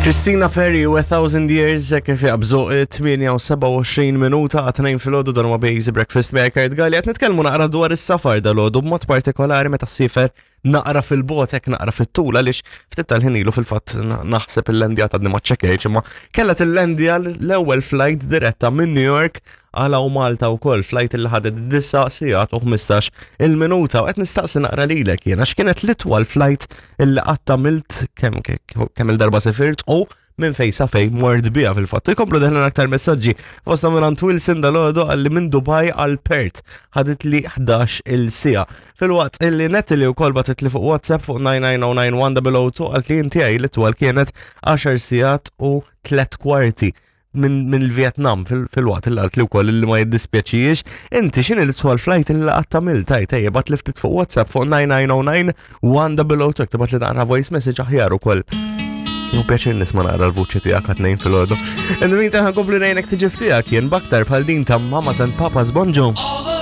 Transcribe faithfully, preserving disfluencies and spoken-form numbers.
Christina Perri u A Thousand Years kif jaqbżu tmienja u sebgħa u għoxrin minuta għat-tnejn filgħodu. Dan huwa Busy Breakfast miegħi Kurt Galli. Qed nitkellmu naqra dwar is-safar dalgħodu, b'mod partikolari meta ssiefer naqra fil-bogħod, hekk naqra fit-tul, għaliex ftit tal-ħin ilu fil-fatt naħseb il-lendja, għadni ma ċċekkjajtx, imma kellha tillendja l-ewwel flight diretta minn New York għal hawn Malta wkoll, flight li ħadet disa' sigħat u ħmistax il-minuta. U qed nistaqsi naqra lilek jiena x'kienet l-itwal flight illi qatt għamilt, kemm kemm il-darba sifirt u minn fej sa fej mort bija fil-fatt. Jkomplu deħlin aktar messaġġi. Fosta minn Wilson dalgħodu qalli minn Dubai għal Perth ħadet li ħdax il-siegħa. Filwaqt illi Natalie wkoll bagħtet li fuq WhatsApp fuq tnejn tnejn żero tnejn wieħed żero żero tnejn qalt li inti li l-itwal kienet għaxar sigħat u tliet kwarti minn min il-Vietnam, fil-waqt il qalt li wkoll li ma jiddispjaċijiex. Inti x'inhi l-itwal flight il qatt għamilt? Tajt ejja bagħat li ftit fuq WhatsApp fuq tnejn tnejn żero tnejn wieħed żero żero tnejn, tibgħat li naqra voice message aħjar ukoll. U pjaċir nisma' naqra l-vuċi tiegħek għat-tnejn filgħodu. In the meantime, ħa nkompli ngħinek tiġi f'tiegħek jien b'aktar bħal din ta' Mamas and Papas, Bonġu.